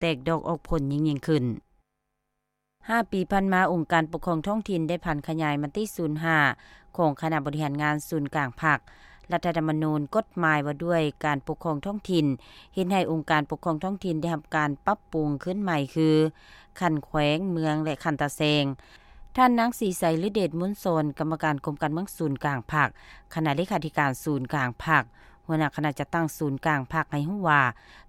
ແຕກດອກອອກຜົນຍິ່ງໆຂຶ້ນ. ຫ້າປີຜ່ານມາ, ອົງການປົກຄອງທ້ອງຖິ່ນໄດ້ຜັນຂະຫຍາຍມະຕິສູນຫ້າຂອງຄະນະບໍລິຫານງານສູນກາງພັກ, ລັດຖະທຳມະນູນ, ກົດໝາຍວ່າດ້ວຍການປົກຄອງທ້ອງຖິ່ນ ເຮັດໃຫ້ອົງການປົກຄອງທ້ອງຖິ່ນໄດ້ຮັບການປັບປຸງຂຶ້ນໃໝ່ ຄື ຂັ້ນແຂວງ, ເມືອງ ແລະ ຂັ້ນຕາແສງ. ທ່ານນາງ ສີໄຊ ລືເດດມູນສອນ, ກຳມະການກົມການເມືອງສູນກາງພັກ, ຄະນະເລຂາທິການສູນກາງພັກ, ຫົວໜ້າຄະນະຈັດຕັ້ງສູນກາງພັກ ໃຫ້ຮູ້ວ່າ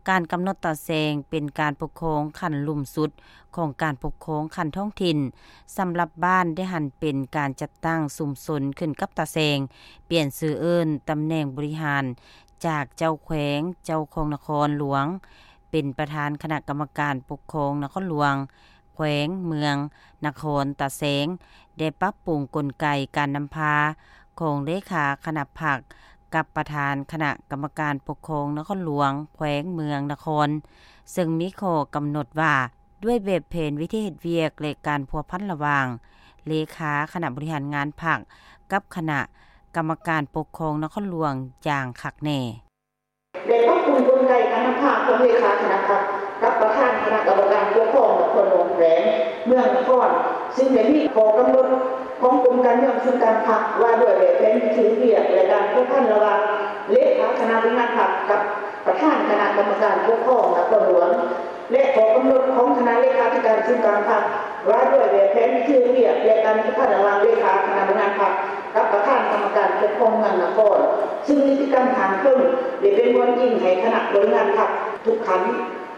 ການກຳນົດຕາແສງເປັນການປົກຄອງຂັ້ນລຸ່ມສຸດຂອງການປົກຄອງຂັ້ນທ້ອງຖິ່ນ. ສຳລັບບ້ານໄດ້ຫັນເປັນການຈັດຕັ້ງຊຸມຊົນຂຶ້ນກັບຕາແສງ, ປ່ຽນຊື່ເອີ້ນຕຳແໜ່ງບໍລິຫານ ຈາກເຈົ້າແຂວງ, ເຈົ້າຄອງນະຄອນຫຼວງ ເປັນປະທານຄະນະກຳມະການປົກຄອງນະຄອນຫຼວງ, ແຂວງ, ເມືອງ, ນະຄອນ, ຕາແສງ ແລະ ປັບປຸງກົນໄກການນຳພາຂອງເລຂາຄະນະພັກ ກັບປະທານຄະນະກຳມະການປົກຄອງນະຄອນຫຼວງ, ແຂວງ, ເມືອງ, ນະຄອນ, ເຊິ່ງມີຂໍ້ກຳນົດວ່າ ດ້ວຍແບບແຜນວິທີເຮັດວຽກ ແລະ ການພົວພັນລະຫວ່າງເລຂາຄະນະບໍລິຫານງານພັກ ກັບຄະນະກຳມະການປົກຄອງນະຄອນຫຼວງຢ່າງຄັກແນ່. ໄດ້ປັບປຸງກົນໄກການນຳພາຂອງເລຂາຄະນະພັກ ກັບປະທານຄະນະກຳມະການປົກຄອງນະຄອນຫຼວງ, ແຂວງ, ເມືອງ, ນະຄອນ, ຊຶ່ງໄດ້ມີຂໍ້ກຳນົດຂອງກົມການເມືອງສູນກາງພັກ ວ່າດ້ວຍແບບແຜນວິທີເຮັດວຽກ ແລະ ການພົວພັນລະຫວ່າງເລຂາຄະນະບໍລິຫານພັກ ກັບປະທານຄະນະກຳມະການປົກຄອງນະຄອນຫຼວງ ແລະ ຂໍ້ກຳນົດຂອງຄະນະເລຂາທິການສູນກາງພັກ ວ່າດ້ວຍແບບແຜນວິທີເຮັດວຽກ ແລະ ການພົວພັນລະຫວ່າງເລຂາຄະນະບໍລິຫານພັກ ກັບປະທານກຳມະການປົກຄອງເມືອງນະຄອນ, ຊຶ່ງນິຕິກຳທາງເທິງໄດ້ເປັນບ່ອນອີງໃຫ້ຄະນະບໍລິຫານພັກທຸກຂັ້ນ,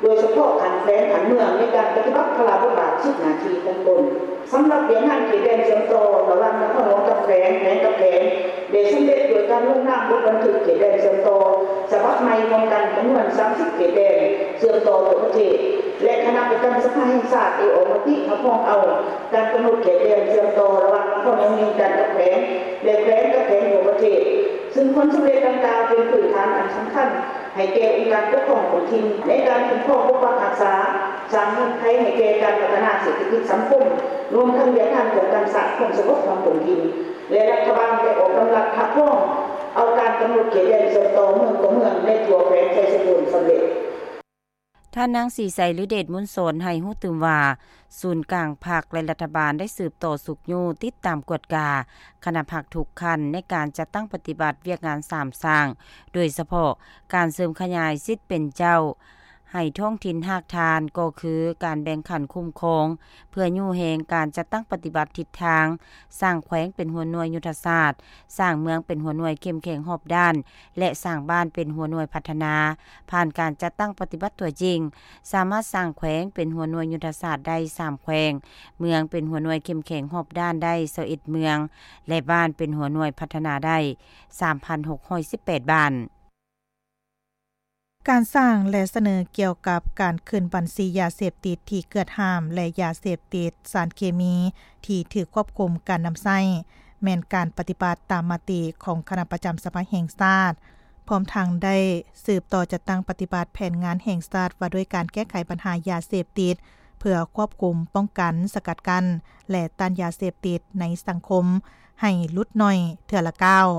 ໂດຍສະເພາະຂັ້ນແຂວງ, ຂັ້ນເມືອງ ໃນການປະຕິບັດພາລະບົດບາດ, ສິດ, ໜ້າທີ່ຂອງຕົນ. ສຳລັບວຽກງານເຂດແດນເຊື່ອມຕໍ່ລະຫວ່າງນະຄອນຫຼວງກັບແຂວງ, ແຂວງກັບແຂວງ ໄດ້ສຳເລັດດ້ວຍການລົງນາມບົດບັນທຶກເຂດແດນເຊື່ອມຕໍ່ສະບັບໃໝ່ຮ່ວມກັນຈຳນວນສາມສິບເຂດແດນເຊື່ອມຕໍ່ທົ່ວປະເທດ ແລະ ຄະນະປະຈຳສະພາແຫ່ງຊາດໄດ້ອອກມະຕິຮັບຮອງເອົາການກຳນົດເຂດແດນເຊື່ອມຕໍ່ລະຫວ່າງນະຄອນຫຼວງວຽງຈັນກັບແຂວງ ແລະ ແຂວງກັບແຂວງທົ່ວປະເທດ, ຊຶ່ງຜົນສຳເລັດດັ່ງກ່າວເປັນພື້ນຖານອັນສຳຄັນ ໃຫ້ແກ່ອົງການປົກຄອງທ້ອງຖິ່ນໃນການຄຸ້ມຄອງປົກປັກຮັກສາ, ສ້າງເງື່ອນໄຂໃຫ້ແກ່ການພັດທະນາເສດຖະກິດສັງຄົມ, ລວມທັງວຽກງານປ້ອງກັນຊາດຄວາມສະຫງົບຂອງທ້ອງຖິ່ນ ແລະ ລັດຖະບານໄດ້ອອກດຳລັດຮັບຮອງເອົາການກຳນົດເຂດແດນເຊື່ອມຕໍ່ເມືອງຕໍ່ເມືອງໃນທົ່ວແຂວງໄຊສົມບູນສຳເລັດ. ທ່ານນາງ ສີໄຊ ລືເດດມູນສອນ ໃຫ້ຮູ້ຕື່ມວ່າ ສູນກາງພັກ ແລະ ລັດຖະບານໄດ້ສືບຕໍ່ຊຸກຍູ້ຕິດຕາມກວດກາຄະນະພັກທຸກຂັ້ນໃນການຈັດຕັ້ງປະຕິບັດວຽກງານສາມສ້າງ, ໂດຍສະເພາະການເສີມຂະຫຍາຍສິດເປັນເຈົ້າໃຫ້ທ້ອງຖິ່ນຮາກຖານ ກໍຄືການແບ່ງຂັ້ນຄຸ້ມຄອງ ເພື່ອຍູ້ແຮງການຈັດຕັ້ງປະຕິບັດທິດທາງ, ສ້າງແຂວງເປັນຫົວໜ່ວຍຍຸດທະສາດ, ສ້າງເມືອງເປັນຫົວໜ່ວຍເຂັ້ມແຂງຮອບດ້ານ ແລະ ສ້າງບ້ານເປັນຫົວໜ່ວຍພັດທະນາ. ຜ່ານການຈັດຕັ້ງປະຕິບັດຕົວຈິງ, ສາມາດສ້າງແຂວງເປັນຫົວໜ່ວຍຍຸດທະສາດໄດ້ສາມແຂວງ, ເມືອງເປັນຫົວໜ່ວຍເຂັ້ມແຂງຮອບດ້ານໄດ້ຊາວເອັດເມືອງ ແລະ ບ້ານເປັນຫົວໜ່ວຍພັດທະນາໄດ້ສາມພັນຫົກຮ້ອຍສິບແປດບ້ານ. ການສ້າງ ແລະ ສະເໜີກ່ຽວກັບການຂຶ້ນບັນຊີຢາເສບຕິດທີ່ເກືອດຫ້າມ ແລະ ຢາເສບຕິດ, ສານເຄມີທີ່ຖືກຄວບຄຸມການນຳໃຊ້ ແມ່ນການປະຕິບັດຕາມມະຕິຂອງຄະນະປະຈຳສະພາແຫ່ງຊາດ, ພ້ອມທັງໄດ້ສືບຕໍ່ຈັດຕັ້ງປະຕິບັດແຜນງານແຫ່ງຊາດວ່າດ້ວຍການແກ້ໄຂບັນຫາຢາເສບຕິດ ເພື່ອຄວບຄຸມ, ປ້ອງກັນ, ສະກັດກັ້ນ ແລະ ຕ້ານຢາເສບຕິດໃນສັງຄົມໃຫ້ຫຼຸດໜ້ອຍເທື່ອລະກ້າວ.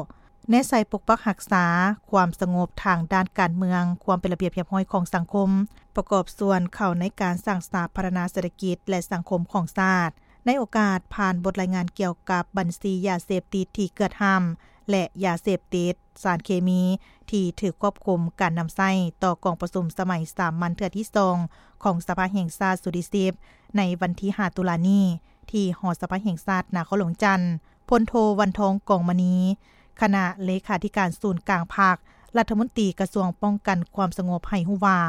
ແນໃສ່ປົກປັກຮັກສາຄວາມສະຫງົບທາງດ້ານການເມືອງ, ຄວາມເປັນລະບຽບຮຽບຮ້ອຍຂອງສັງຄົມ, ປະກອບສ່ວນເຂົ້າໃນການສ້າງສາພັດທະນາເສດຖະກິດ ແລະ ສັງຄົມຂອງຊາດ. ໃນໂອກາດຜ່ານບົດລາຍງານກ່ຽວກັບບັນຊີຢາເສບຕິດທີ່ເກືອດຫ້າມ ແລະ ຢາເສບຕິດ, ສານເຄມີທີ່ຖືກຄວບຄຸມການນຳໃຊ້ ຕໍ່ກອງປະຊຸມສະໄໝສາມັນເທື່ອທີສອງ ຂອງສະພາແຫ່ງຊາດຊຸດທີສິບ ໃນວັນທີຫ້າຕຸລານີ້ ທີ່ຫໍສະພາແຫ່ງຊາດນະຄອນຫຼວງວຽງຈັນ, ພົນໂທ ວັນທອງ ກອງມະນີ ຄະນະເລຂາທິການສູນກາງພັກ, ລັດຖະມົນຕີກະຊວງປ້ອງກັນຄວາມສະຫງົບ ໃຫ້ຮູ້ວ່າ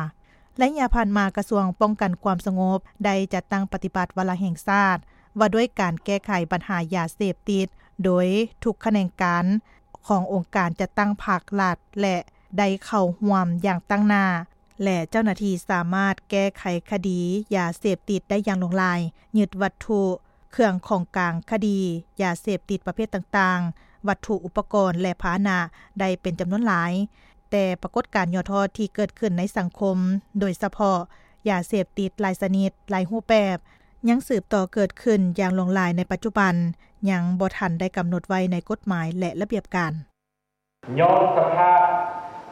ໄລຍະຜ່ານມາ ກະຊວງປ້ອງກັນຄວາມສະຫງົບໄດ້ຈັດຕັ້ງປະຕິບັດວາລະແຫ່ງຊາດ ວ່າດ້ວຍການແກ້ໄຂບັນຫາຢາເສບຕິດ ໂດຍທຸກຂະແໜງການຂອງອົງການຈັດຕັ້ງພັກລັດ ແລະ ໄດ້ເຂົ້າຮ່ວມຢ່າງຕັ້ງໜ້າ ແລະ ເຈົ້າໜ້າທີ່ສາມາດແກ້ໄຂຄະດີຢາເສບຕິດໄດ້ຢ່າງຫຼວງຫຼາຍ, ຍຶດວັດຖຸ ເຄື່ອງຂອງກາງຄະດີຢາເສບຕິດປະເພດຕ່າງໆ, ວັດຖຸອຸປະກອນ ແລະ ພາຫະນະໄດ້ເປັນຈຳນວນຫຼາຍ, ແຕ່ປາກົດການຫຍໍ້ທໍ້ທີ່ເກີດຂຶ້ນໃນສັງຄົມ, ໂດຍສະເພາະຢາເສບຕິດຫຼາຍຊະນິດ, ຫຼາຍຮູບແບບ, ຍັງສືບຕໍ່ເກີດຂຶ້ນຢ່າງຫຼວງຫຼາຍໃນປັດຈຸບັນ, ຍັງບໍ່ທັນໄດ້ກຳນົດໄວ້ໃນກົດໝາຍ ແລະ ລະບຽບການ. ຍ້ອນສະພາບ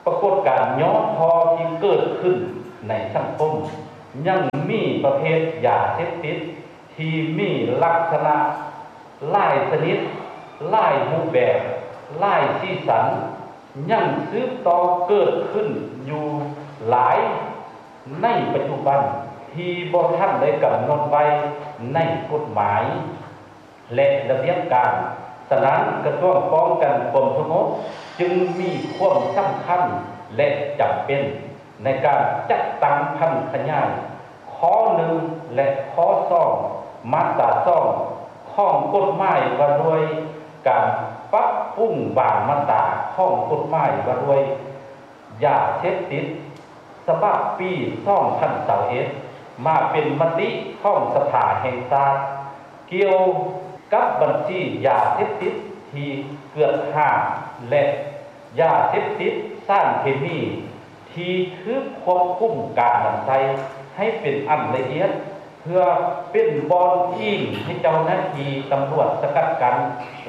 ປາກົດການຫຍໍ້ທໍ້ທີ່ເກີດຂຶ້ນໃນສັງຄົມ, ຍັງມີປະເພດຢາເສບຕິດທີ່ມີລັກສະນະຫຼາຍຊະນິດ, ຫຼາຍຮູບແບບ, ຫຼາຍສີສັນ ຍັງສືບຕໍ່ເກີດຂຶ້ນຢູ່ຫຼາຍໃນປັດຈຸບັນ ທີ່ບໍ່ທັນໄດ້ກຳນົດໄວ້ໃນກົດໝາຍ ແລະ ລະບຽບການ. ສະນັ້ນ, ກະຊວງປ້ອງກັນຄວາມສະຫງົບຈຶ່ງມີຄວາມສຳຄັນ ແລະ ຈຳເປັນໃນການຈັດຕັ້ງຜັນຂະຫຍາຍຂໍ້ໜຶ່ງ ແລະ ຂໍ້ສອງ ມາດຕາສອງ ຂອງກົດໝາຍວ່າດ້ວຍການປັບປຸງບາງມາດຕາຂອງກົດໝາຍວ່າດ້ວຍ ຢາເສບຕິດ ສະບັບປີສອງພັນຊາວເອັດ ມາເປັນມະຕິຂອງສະພາແຫ່ງຊາດ ກ່ຽວກັບບັນຊີຢາເສບຕິດທີ່ເກືອດຫ້າມ ແລະ ຢາເສບຕິດສານເຄມີທີ່ຖືກຄວບຄຸມການນຳໃຊ້ໃຫ້ເປັນອັນລະອຽດ ເພື່ອເປັນບ່ອນອີງໃຫ້ເຈົ້າໜ້າທີ່ຕຳຫຼວດສະກັດກັ້ນ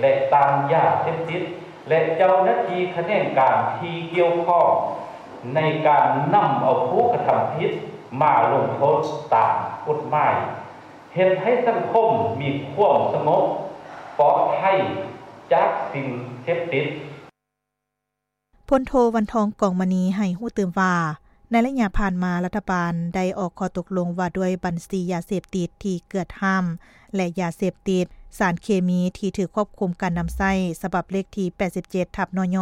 ແລະ ຕ້ານຢາເສບຕິດ ແລະ ເຈົ້າໜ້າທີ່ຂະແໜງການທີ່ກ່ຽວຂ້ອງ ໃນການນຳເອົາຜູ້ກະທຳຜິດມາລົງໂທດຕາມກົດໝາຍ, ເຮັດໃຫ້ສັງຄົມມີຄວາມສະຫງົບປອດໄພຈາກສິ່ງເສບຕິດ. ພົນໂທ ວັນທອງ ກອງມະນີ ໃຫ້ຮູ້ຕື່ມວ່າ, ໃນໄລຍະຜ່ານມາ ລັດຖະບານໄດ້ອອກຂໍ້ຕົກລົງວ່າດ້ວຍບັນຊີຢາເສບຕິດທີ່ເກືອດຫ້າມ ແລະ ຢາເສບຕິດສານເຄມີທີ່ຖືກຄວບຄຸມການນຳໃຊ້ ສະບັບເລກທີ ແປດສິບເຈັດ ທັບ ນຍ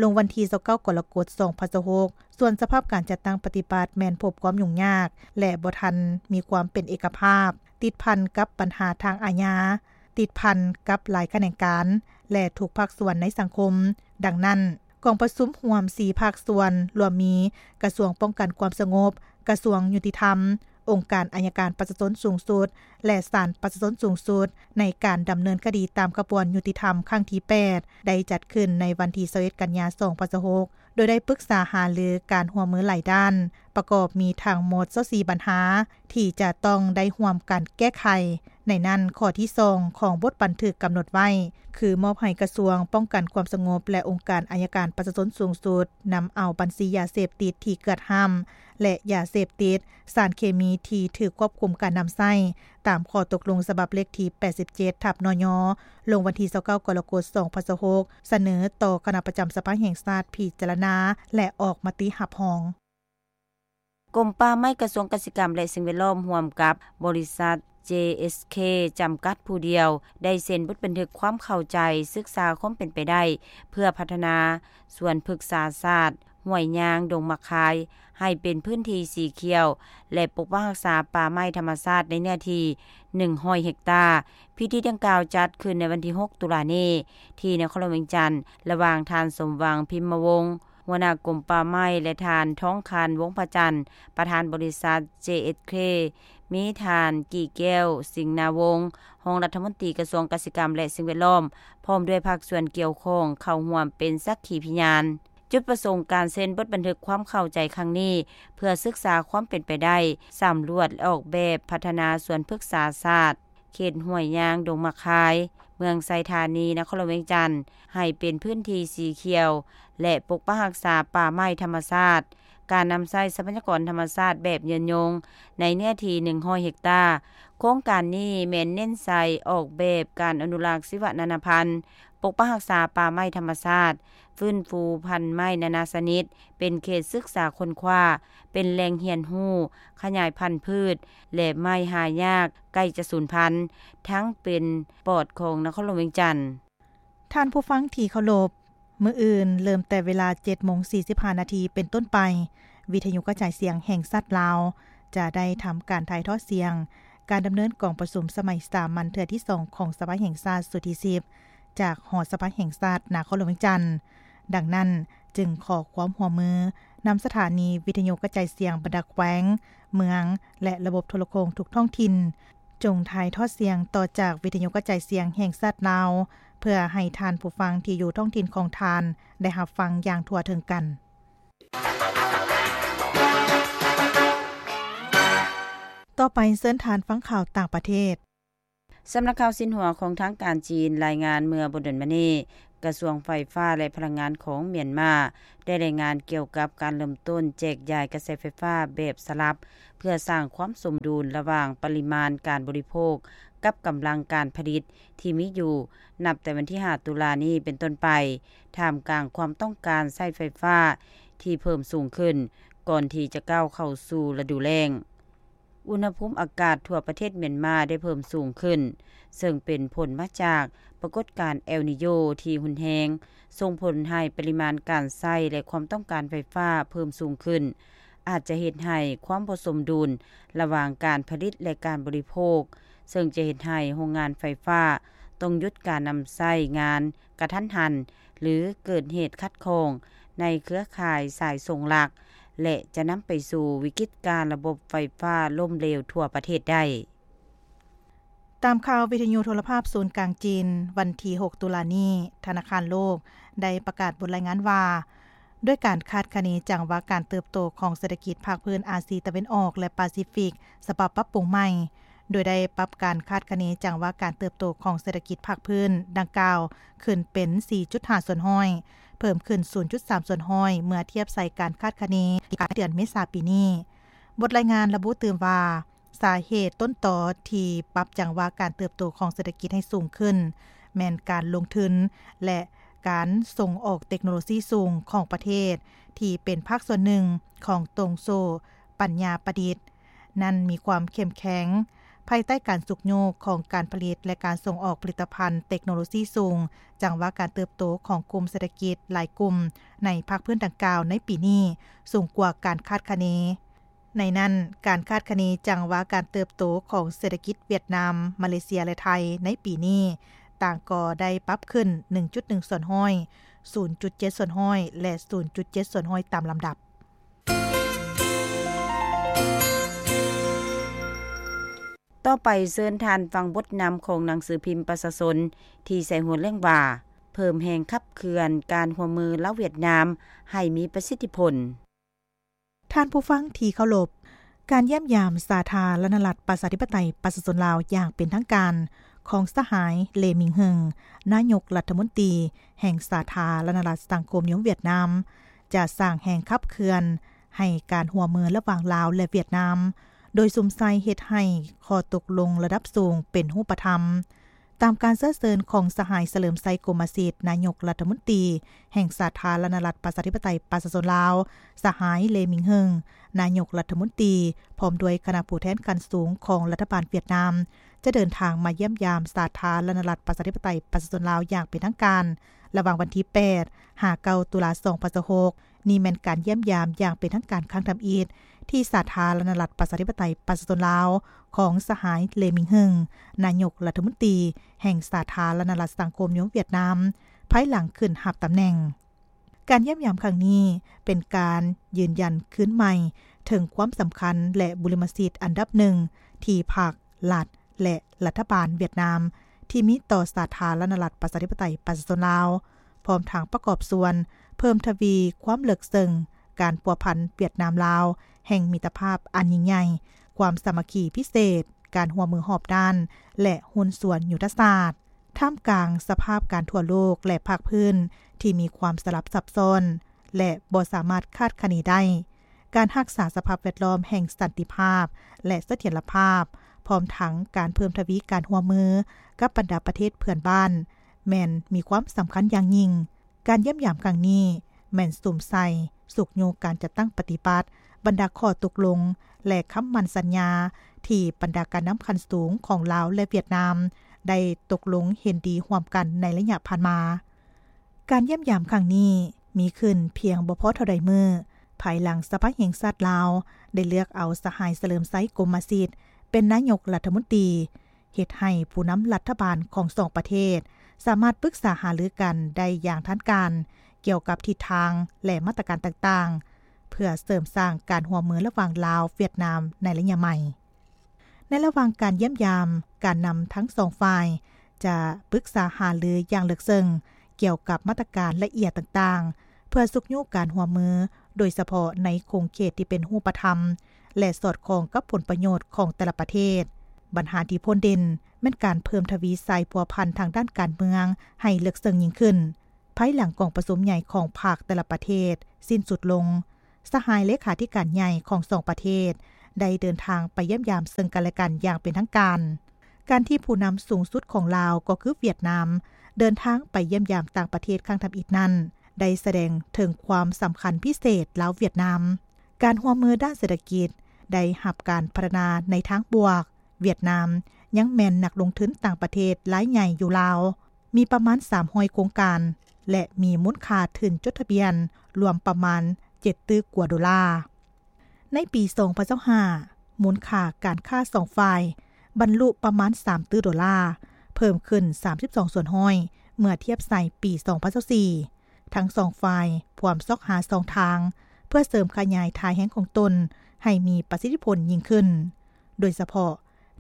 ລົງວັນທີ ຊາວເກົ້າ ກໍລະກົດ ສອງພັນຊາວຫົກ. ສ່ວນສະພາບການຈັດຕັ້ງປະຕິບັດແມ່ນພົບຄວາມຫຍຸ້ງຍາກ ແລະ ບໍ່ທັນມີຄວາມເປັນເອກະພາບ, ຕິດພັນກັບບັນຫາທາງອາຍາ, ຕິດພັນກັບຫຼາຍຂະແໜງການ ແລະ ທຸກພາກສ່ວນໃນສັງຄົມ. ດັ່ງນັ້ນ, ກອງປະຊຸມຮ່ວມສີ່ພາກສ່ວນ ລວມມີ ກະຊວງປ້ອງກັນຄວາມສະຫງົບ, ກະຊວງຍຸຕິທຳ, ອົງການໄອຍະການປະຊາຊົນສູງສຸດ ແລະ ສານປະຊາຊົນສູງສຸດ ໃນການດຳເນີນຄະດີຕາມຂະບວນຍຸຕິທຳຄັ້ງທີແປດ ໄດ້ຈັດຂຶ້ນໃນວັນທີ ຊາວເອັດ ກັນຍາ ສອງພັນຊາວຫົກ ໂດຍໄດ້ປຶກສາຫາລືການຮ່ວມມືຫຼາຍດ້ານ, ປະກອບມີທັງໝົດ ຊາວສີ່ ບັນຫາ ທີ່ຈະຕ້ອງໄດ້ຮ່ວມກັນແກ້ໄຂ. ໃນນັ້ນ, ຂໍ້ທີສອງ ຂອງບົດບັນທຶກກຳນົດໄວ້ ຄືມອບໃຫ້ກະຊວງປ້ອງກັນຄວາມສະຫງົບ ແລະ ອົງການໄອຍະການປະຊາຊົນສູງສຸດ ນຳເອົາບັນຊີຢາເສບຕິດທີ່ເກືອດຫ້າມ ແລະ ຢາເສບຕິດສານເຄມີທີ່ຖືກຄວບຄຸມການນຳໃຊ້ ຕາມຂໍ້ຕົກລົງສະບັບເລກທີ ແປດສິບເຈັດ ທັບ ນຍ ລົງວັນທີ ຊາວເກົ້າ ກໍລະກົດ ສອງພັນຊາວຫົກ ສະເໜີຕໍ່ຄະນະປະຈຳສະພາແຫ່ງຊາດພິຈາລະນາ ແລະ ອອກມະຕິຮັບຮອງ. ກົມປ່າໄມ້ ກະຊວງກະສິກຳ ແລະ ສິ່ງແວດລ້ອມ ຮ່ວມກັບບໍລິສັດ ເຈເອສເຄ ຈຳກັດຜູ້ດຽວ ໄດ້ເຊັນບົດບັນທຶກຄວາມເຂົ້າໃຈສຶກສາຄວາມເປັນໄປໄດ້ ເພື່ອພັດທະນາສວນພຶກສາສາດ ຫ້ວຍຍາງ ດົງໝາກຄາຍ ໃຫ້ເປັນພື້ນທີ່ສີຂຽວ ແລະ ປົກປັກຮັກສາປ່າໄມ້ທຳມະຊາດໃນເນື້ອທີ່ໜຶ່ງຮ້ອຍເຮັກຕາ. ພິທີດັ່ງກ່າວຈັດຂຶ້ນໃນວັນທີຫົກ ຕຸລານີ້ ທີ່ນະຄອນຫຼວງວຽງຈັນ ລະຫວ່າງທ່ານ ສົມຫວັງ ພິມມະວົງ ຫົວໜ້າກົມປ່າໄມ້ ແລະ ທ່ານ ທອງຄານ ວົງພະຈັນ ປະທານບໍລິສັດ ເຈເອສເຄ, ມີທ່ານ ກີ້ແກ້ວ ສິງນາວົງ ຮອງລັດຖະມົນຕີກະຊວງກະສິກຳ ແລະ ສິ່ງແວດລ້ອມ ພ້ອມດ້ວຍພາກສ່ວນກ່ຽວຂ້ອງເຂົ້າຮ່ວມເປັນສັກຂີພິຍານ. ຈຸດປະສົງການເຊັນບົດບັນທຶກຄວາມເຂົ້າໃຈຄັ້ງນີ້ ເພື່ອສຶກສາຄວາມເປັນໄປໄດ້ ສຳຫຼວດ ແລະ ອອກແບບພັດທະນາສວນພຶກສາສາດ ເຂດຫ້ວຍຍາງ ດົງໝາກຄາຍ ເມືອງໄຊທານີ ນະຄອນຫຼວງວຽງຈັນ ໃຫ້ເປັນພື້ນທີ່ສີຂຽວ ແລະ ປົກປັກຮັກສາປ່າໄມ້ທຳມະຊາດ, ການນຳໃຊ້ຊັບພະຍາກອນທຳມະຊາດແບບຍືນຍົງ ໃນເນື້ອທີ່ໜຶ່ງຮ້ອຍເຮັກຕາ. ໂຄງການນີ້ແມ່ນເນັ້ນໃສ່ອອກແບບການອະນຸລັກຊີວະນານາພັນ, ປົກປັກຮັກສາປ່າໄມ້ທຳມະຊາດ, ຟື້ນຟູພັນໄມ້ນານາຊະນິດ, ເປັນເຂດສຶກສາຄົ້ນຄວ້າ, ເປັນແຫຼ່ງຮຽນຮູ້, ຂະຫຍາຍພັນພືດ ແລະ ໄມ້ຫາຍາກໃກ້ຈະສູນພັນ ທັງເປັນປອດຂອງນະຄອນຫຼວງວຽງຈັນ. ທ່ານຜູ້ຟັງທີ່ເຄົາລົບ, ມື້ອື່ນເລີ່ມແຕ່ເວລາເຈັດໂມງສີ່ສິບຫ້ານາທີເປັນຕົ້ນໄປ, ວິທະຍຸກະຈາຍສຽງແຫ່ງຊາດລາວ ຈະໄດ້ທຳການຖ່າຍທອດສຽງ ການດຳເນີນກອງປະຊຸມສະໄໝສາມັນເທື່ອທີສອງຂອງສະພາແຫ່ງຊາດຊຸດທີສິບ ຈາກຫໍສະພາແຫ່ງຊາດນະຄອນຫຼວງວຽງຈັນ. ດັ່ງນັ້ນ, ຈຶ່ງຂໍຄວາມຮ່ວມມືນຳສະຖານີວິທະຍຸກະຈາຍສຽງບັນດາແຂວງ, ເມືອງ ແລະ ລະບົບໂທລະໂຄ່ງທຸກທ້ອງຖິ່ນ, ຈົ່ງຖ່າຍທອດສຽງຕໍ່ຈາກວິທະຍຸກະຈາຍສຽງແຫ່ງຊາດລາວ ເພື່ອໃຫ້ທ່ານຜູ້ຟັງທີ່ຢູ່ທ້ອງຖິ່ນຂອງທ່ານໄດ້ຮັບຟັງຢ່າງທົ່ວເຖິງກັນ. ຕໍ່ໄປເຊີນທ່ານຟັງຂ່າວຕ່າງປະເທດ. ສຳນັກຂ່າວຊິນຫົວຂອງທາງການຈີນລາຍງານເມື່ອບໍ່ດົນມານີ້ ກະຊວງໄຟຟ້າ ແລະ ພະລັງງານຂອງມຽນມາ ໄດ້ລາຍງານກ່ຽວກັບການເລີ່ມຕົ້ນແຈກຢາຍກະແສໄຟຟ້າແບບສະຫຼັບ ເພື່ອສ້າງຄວາມສົມດຸນລະຫວ່າງປະລິມານການບໍລິໂພກກັບກຳລັງການຜະລິດທີ່ມີຢູ່ ນັບແຕ່ວັນທີຫ້າ ຕຸລານີ້ເປັນຕົ້ນໄປ, ທ່າມກາງຄວາມຕ້ອງການໃຊ້ໄຟຟ້າທີ່ເພີ່ມສູງຂຶ້ນ ກ່ອນທີ່ຈະກ້າວເຂົ້າສູ່ລະດູແລ້ງ. ອຸນຫະພູມອາກາດທົ່ວປະເທດມຽນມາໄດ້ເພີ່ມສູງຂຶ້ນ, ເຊິ່ງເປັນຜົນມາຈາກປາກົດການແອລນີໂຍທີ່ຮຸນແຮງ, ສົ່ງຜົນໃຫ້ປະລິມານການໃຊ້ ແລະ ຄວາມຕ້ອງການໄຟຟ້າເພີ່ມສູງຂຶ້ນ, ອາດຈະເຮັດໃຫ້ຄວາມບໍ່ສົມດຸນລະຫວ່າງການຜະລິດ ແລະ ການບໍລິໂພກ, ເຊິ່ງຈະເຮັດໃຫ້ໂຮງງານໄຟຟ້າຕ້ອງຢຸດການນຳໃຊ້ງານກະທັນຫັນ ຫຼື ເກີດເຫດຂັດຂ້ອງໃນເຄືອຂ່າຍສາຍສົ່ງຫຼັກ ແລະ ຈະນຳໄປສູ່ວິກິດການລະບົບໄຟຟ້າລົ້ມເຫຼວທົ່ວປະເທດໄດ້. ຕາມຂ່າວວິທະຍຸໂທລະພາບສູນກາງຈີນ ວັນທີຫົກ ຕຸລານີ້, ທະນາຄານໂລກໄດ້ປະກາດບົດລາຍງານວ່າ ດ້ວຍການຄາດຄະເນຈັງຫວະການເຕີບໂຕຂອງເສດຖະກິດພາກພື້ນອາຊີຕາເວັນອອກ ແລະ ປາຊີຟິກ ສະບັບປັບປຸງໃໝ່, ໂດຍໄດ້ປັບການຄາດຄະເນຈັງຫວະການເຕີບໂຕຂອງເສດຖະກິດພາກພື້ນດັ່ງກ່າວຂຶ້ນເປັນ ສີ່ຈຸດຫ້າສ່ວນຮ້ອຍ, ເພີ່ມຂຶ້ນ ສູນຈຸດສາມສ່ວນຮ້ອຍ ເມື່ອທຽບໃສ່ການຄາດຄະເນທີ່ປະກາດເດືອນເມສາປີນີ້. ບົດລາຍງານລະບຸຕື່ມວ່າ ສາເຫດຕົ້ນຕໍທີ່ປັບຈັງຫວະການເຕີບໂຕຂອງເສດຖະກິດໃຫ້ສູງຂຶ້ນ ແມ່ນການລົງທຶນ ແລະ ການສົ່ງອອກເຕັກໂນໂລຊີສູງຂອງປະເທດ ທີ່ເປັນພາກສ່ວນໜຶ່ງຂອງໂຕ່ງໂສ້ປັນຍາປະດິດ ນັ້ນມີຄວາມເຂັ້ມແຂງ ພາຍໃຕ້ການຊຸກຍູ້ຂອງການຜະລິດ ແລະ ການສົ່ງອອກຜະລິດຕະພັນເຕັກໂນໂລຊີສູງ, ຈັງຫວະການເຕີບໂຕຂອງກຸ່ມເສດຖະກິດຫຼາຍກຸ່ມໃນພາກພື້ນດັ່ງກ່າວໃນປີນີ້ສູງກວ່າການຄາດຄະເນ. ໃນນັ້ນ, ການຄາດຄະເນຈັງຫວະການເຕີບໂຕຂອງເສດຖະກິດຫວຽດນາມ, ມາເລເຊຍ ແລະ ໄທໃນປີນີ້ ຕ່າງກໍໄດ້ປັບຂຶ້ນ ໜຶ່ງຈຸດໜຶ່ງສ່ວນຮ້ອຍ, ສູນຈຸດເຈັດສ່ວນຮ້ອຍ ແລະ ສູນຈຸດເຈັດສ່ວນຮ້ອຍຕາມລຳດັບ. ຕໍ່ໄປເຊີນທ່ານຟັງບົດນຳຂອງໜັງສືພິມປະຊາຊົນ ທີ່ໃສ່ຫົວເລື່ອງວ່າ ເພີ່ມແຮງຂັບເຄື່ອນການຮ່ວມມືລາວຫວຽດນາມໃຫ້ມີປະສິດທິຜົນ. ທ່ານຜູ້ຟັງທີ່ເຄົາລົບ, ການຢ້ຽມຢາມສາທາລະນະລັດປະຊາທິປະໄຕປະຊາຊົນລາວຢ່າງເປັນທາງການຂອງສະຫາຍ ເລ ມິງເຮິງ ນາຍົກລັດຖະມົນຕີແຫ່ງສາທາລະນະລັດສັງຄົມນິຍົມຫວຽດນາມ ຈະສ້າງແຮງຂັບເຄື່ອນໃຫ້ການຮ່ວມມືລະຫວ່າງລາວ ແລະ ຫວຽດນາມ, ໂດຍສຸມໃສ່ເຮັດໃຫ້ຂໍ້ຕົກລົງລະດັບສູງເປັນຮູບປະທຳ. ຕາມການເຊື້ອເຊີນຂອງສະຫາຍ ສະເຫຼີມໄຊ ກົມມະສິດ ນາຍົກລັດຖະມົນຕີແຫ່ງສາທາລະນະລັດປະຊາທິປະໄຕປະຊາຊົນລາວ, ສະຫາຍ ເລ ມິງເຮິງ ນາຍົກລັດຖະມົນຕີ ພ້ອມດ້ວຍຄະນະຜູ້ແທນຂັ້ນສູງຂອງລັດຖະບານຫວຽດນາມ ຈະເດີນທາງມາຢ້ຽມຢາມສາທາລະນະລັດປະຊາທິປະໄຕປະຊາຊົນລາວຢ່າງເປັນທາງການ ລະຫວ່າງວັນທີແປດ ຫາ ເກົ້າ ຕຸລາ ສອງພັນຊາວຫົກ. ນີ້ແມ່ນການຢ້ຽມຢາມຢ່າງເປັນທາງການຄັ້ງທຳອິດ ທີ່ສາທາລະນະລັດປະຊາທິປະໄຕປະຊາຊົນລາວ ຂອງສະຫາຍ ເລ ມິງເຮິງ ນາຍົກລັດຖະມົນຕີແຫ່ງສາທາລະນະລັດສັງຄົມນິຍົມຫວຽດນາມ ພາຍຫຼັງຂຶ້ນຮັບຕຳແໜ່ງ. ການຢ້ຽມຢາມຄັ້ງນີ້ເປັນການຢືນຢັນຄືນໃໝ່ເຖິງຄວາມສຳຄັນ ແລະ ບຸລິມະສິດອັນດັບໜຶ່ງທີ່ພັກ, ລັດ ແລະ ລັດຖະບານຫວຽດນາມ ທີ່ມີຕໍ່ສາທາລະນະລັດປະຊາທິປະໄຕປະຊາຊົນລາວ, ພ້ອມທັງປະກອບສ່ວນເພີ່ມທະວີຄວາມເລິກເຊິ່ງການພົວພັນຫວຽດນາມ-ລາວ ແຫ່ງມິດຕະພາບອັນຍິ່ງໃຫຍ່, ຄວາມສາມັກຄີພິເສດ, ການຮ່ວມມືຮອບດ້ານ ແລະ ຫຸ້ນສ່ວນຍຸດທະສາດ. ທ່າມກາງສະພາບການທົ່ວໂລກ ແລະ ພາກພື້ນທີ່ມີຄວາມສະຫຼັບຊັບຊ້ອນ ແລະ ບໍ່ສາມາດຄາດຄະເນໄດ້, ການຮັກສາສະພາບແວດລ້ອມແຫ່ງສັນຕິພາບ ແລະ ສະຖຽນລະພາບ, ພ້ອມທັງການເພີ່ມທະວີການຮ່ວມມືກັບບັນດາປະເທດເພື່ອນບ້ານ ແມ່ນມີຄວາມສຳຄັນຢ່າງຍິ່ງ. ການຢ້ຽມຢາມຄັ້ງນີ້ແມ່ນສຸມໃສ່ຊຸກຍູ້ການຈັດຕັ້ງປະຕິບັດບັນດາຂໍ້ຕົກລົງ ແລະ ຄຳໝັ້ນສັນຍາທີ່ບັນດາການນຳຂັ້ນສູງຂອງລາວ ແລະ ຫວຽດນາມ ໄດ້ຕົກລົງເຫັນດີຮ່ວມກັນໃນໄລຍະຜ່ານມາ. ການຢ້ຽມຢາມຄັ້ງນີ້ມີຂຶ້ນພຽງບໍ່ພໍເທົ່າໃດມື້ ພາຍຫຼັງສະພາແຫ່ງຊາດລາວໄດ້ເລືອກເອົາສະຫາຍ ສະເຫຼີມໄຊ ກົມມະສິດ ເປັນນາຍົກລັດຖະມົນຕີ, ເຮັດໃຫ້ຜູ້ນຳລັດຖະບານຂອງສອງປະເທດສາມາດປຶກສາຫາລືກັນໄດ້ຢ່າງທາງການ ກ່ຽວກັບທິດທາງ ແລະ ມາດຕະການຕ່າງໆ ເພື່ອເສີມສ້າງການຮ່ວມມືລະຫວ່າງລາວ-ຫວຽດນາມໃນໄລຍະໃໝ່. ໃນລະຫວ່າງການຢ້ຽມຢາມ, ການນຳທັງສອງຝ່າຍຈະປຶກສາຫາລືຢ່າງເລິກເຊິ່ງກ່ຽວກັບມາດຕະການລະອຽດຕ່າງໆ ເພື່ອຊຸກຍູ້ການຮ່ວມມື, ໂດຍສະເພາະໃນຂົງເຂດທີ່ເປັນຮູບປະທຳ ແລະ ສອດຄ່ອງກັບຜົນປະໂຫຍດຂອງແຕ່ລະປະເທດ. ບັນຫາທີ່ພົ້ນເດັ່ນແມ່ນການເພີ່ມທະວີສາຍພົວພັນທາງດ້ານການເມືອງໃຫ້ເລິກເຊິ່ງຍິ່ງຂຶ້ນ. ພາຍຫຼັງກອງປະຊຸມໃຫຍ່ຂອງພັກແຕ່ລະປະເທດສິ້ນສຸດລົງ, ສະຫາຍເລຂາທິການໃຫຍ່ຂອງສອງປະເທດໄດ້ເດີນທາງໄປຢ້ຽມຢາມເຊິ່ງກັນແລະກັນຢ່າງເປັນທາງການ. ການທີ່ຜູ້ນຳສູງສຸດຂອງລາວ ກໍຄືຫວຽດນາມ ເດີນທາງໄປຢ້ຽມຢາມຕ່າງປະເທດຄັ້ງທຳອິດນັ້ນ ໄດ້ສະແດງເຖິງຄວາມສຳຄັນພິເສດລາວ-ຫວຽດນາມ. ການຮ່ວມມືດ້ານເສດຖະກິດໄດ້ຮັບການພັດທະນາໃນທາງບວກ, ຫວຽດນາມຍັງແມ່ນນັກລົງທຶນຕ່າງປະເທດລາຍໃຫຍ່ຢູ່ລາວ, ມີປະມານສາມຮ້ອຍໂຄງການ ແລະ ມີມູນຄ່າທຶນຈົດທະບຽນລວມປະມານເຈັດຕື້ກວ່າໂດລາ. ໃນປີສອງພັນຊາວຫ້າ ມູນຄ່າການຄ້າສອງຝ່າຍບັນລຸປະມານສາມຕື້ໂດລາ, ເພີ່ມຂຶ້ນສາມສິບສອງສ່ວນຮ້ອຍເມື່ອທຽບໃສ່ປີສອງພັນຊາວສີ່. ທັງສອງຝ່າຍພວມຊອກຫາຊ່ອງທາງເພື່ອເສີມຂະຫຍາຍທ່າແຮງຂອງຕົນໃຫ້ມີປະສິດທິຜົນຍິ່ງຂຶ້ນ, ໂດຍສະເພາະ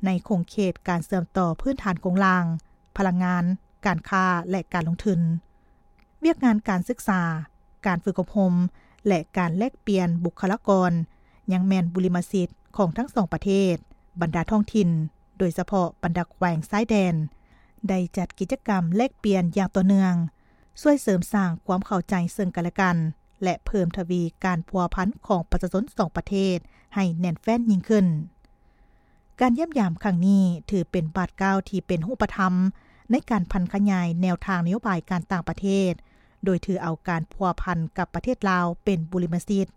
ໃນຂົງເຂດການເຊື່ອມຕໍ່ພື້ນຖານໂຄງລ່າງ, ພະລັງງານ, ການຄ້າ ແລະ ການລົງທຶນ. ວຽກງານການສຶກສາ, ການຝຶກອົບຮົມ ແລະ ການແລກປ່ຽນບຸກຄະລາກອນ ຍັງແມ່ນບຸລິມະສິດຂອງທັງສອງປະເທດ. ບັນດາທ້ອງຖິ່ນ, ໂດຍສະເພາະບັນດາແຂວງຊາຍແດນ, ໄດ້ຈັດກິດຈະກຳແລກປ່ຽນຢ່າງຕໍ່ເນື່ອງ, ຊ່ວຍເສີມສ້າງຄວາມເຂົ້າໃຈເຊິ່ງກັນແລະກັນ ແລະ ເພີ່ມທະວີການພົວພັນຂອງປະຊາຊົນສອງປະເທດໃຫ້ແໜ້ນແຟ້ນຍິ່ງຂຶ້ນ. ການຢ້ຽມຢາມຄັ້ງນີ້ຖືເປັນບາດກ້າວທີ່ເປັນຮູບປະທຳໃນການຜັນຂະຫຍາຍແນວທາງນະໂຍບາຍການຕ່າງປະເທດ, ໂດຍຖືເອົາການພົວພັນກັບປະເທດລາວເປັນບຸລິມະສິດ,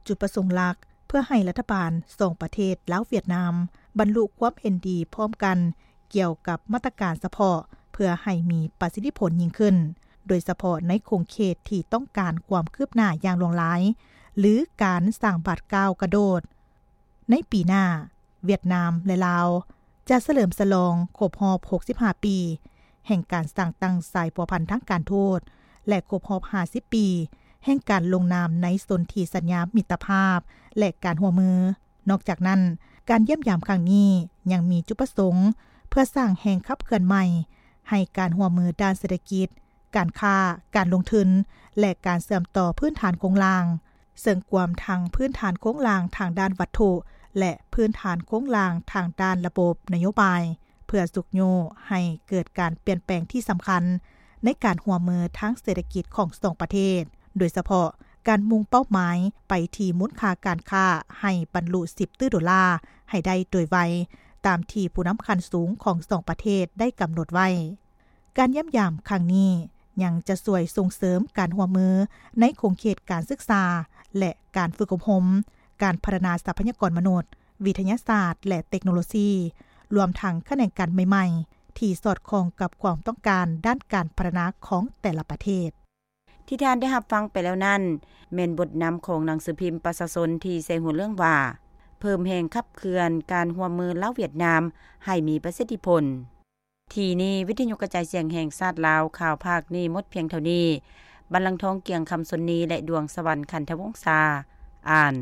ຈຸດປະສົງຫຼັກເພື່ອໃຫ້ລັດຖະບານສອງປະເທດລາວ-ຫວຽດນາມ ບັນລຸຄວາມເຫັນດີພ້ອມກັນ ກ່ຽວກັບມາດຕະການສະເພາະ ເພື່ອໃຫ້ມີປະສິດທິຜົນຍິ່ງຂຶ້ນ, ໂດຍສະເພາະໃນຂົງເຂດທີ່ຕ້ອງການຄວາມຄືບໜ້າຢ່າງຫຼວງຫຼາຍ ຫຼື ການສ້າງບາດກ້າວກະໂດດ. ໃນປີໜ້າ, ຫວຽດນາມ ແລະ ລາວ ຈະສະເຫຼີມສະຫຼອງຄົບຮອບຫົກສິບຫ້າປີ ແຫ່ງການສ້າງຕັ້ງສາຍພົວພັນທາງການທູດ ແລະ ຄົບຮອບຫ້າສິບປີ ແຫ່ງການລົງນາມໃນສົນທິສັນຍາມິດຕະພາບ ແລະ ການຮ່ວມມື. ນອກຈາກນັ້ນ, ການຢ້ຽມຢາມຄັ້ງນີ້ຍັງມີຈຸດປະສົງເພື່ອສ້າງແຮງຂັບເຄື່ອນໃໝ່ໃຫ້ການຮ່ວມມືດ້ານເສດຖະກິດ, ການຄ້າ, ການລົງທຶນ ແລະ ການເຊື່ອມຕໍ່ພື້ນຖານໂຄງລ່າງ, ເຊິ່ງກວມທັງພື້ນຖານໂຄງລ່າງທາງດ້ານວັດຖຸ ແລະ ພື້ນຖານໂຄງລ່າງທາງດ້ານລະບົບນະໂຍບາຍ, ເພື່ອຊຸກຍູ້ໃຫ້ເກີດການປ່ຽນແປງທີ່ສຳຄັນໃນການຮ່ວມມືທາງເສດຖະກິດຂອງສອງປະເທດ, ໂດຍສະເພາະການມຸ່ງເປົ້າໝາຍໄປທີ່ມູນຄ່າການຄ້າໃຫ້ບັນລຸສິບຕື້ໂດລາໃຫ້ໄດ້ໂດຍໄວ, ຕາມທີ່ຜູ້ນຳຂັ້ນສູງຂອງສອງປະເທດໄດ້ກຳນົດໄວ້. ການຢ້ຽມຢາມຄັ້ງນີ້ຍັງຈະຊ່ວຍສົ່ງເສີມການຮ່ວມມືໃນຂົງເຂດການສຶກສາ ແລະ ການຝຶກອົບຮົມ, ການພັດທະນາຊັບພະຍາກອນມະນຸດ, ວິທະຍາສາດ ແລະ ເຕັກໂນໂລຊີ, ລວມທັງຂະແໜງການໃໝ່ໆ ທີ່ສອດຄ່ອງກັບຄວາມຕ້ອງການດ້ານການພັດທະນາຂອງແຕ່ລະປະເທດ. ທີ່ທ່ານໄດ້ຮັບຟັງໄປແລ້ວນັ້ນ ແມ່ນບົດນຳຂອງໜັງສືພິມປະຊາຊົນທີ່ໃສ່ຫົວເລື່ອງວ່າ ເພີ່ມແຮງຂັບເຄື່ອນການຮ່ວມມືລາວຫວຽດນາມໃຫ້ມີປະສິດທິຜົນ. ທີ່ນີ້ ວິທະຍຸກະຈາຍສຽງແຫ່ງຊາດລາວ ຂ່າວພາກນີ້ໝົດພຽງເທົ່ານີ້. ບັນລັງທອງ ກຽງຄຳຊົນນີ ແລະ ດວງສະຫວັນ ຂັນທະວົງສາ ອ່ານ.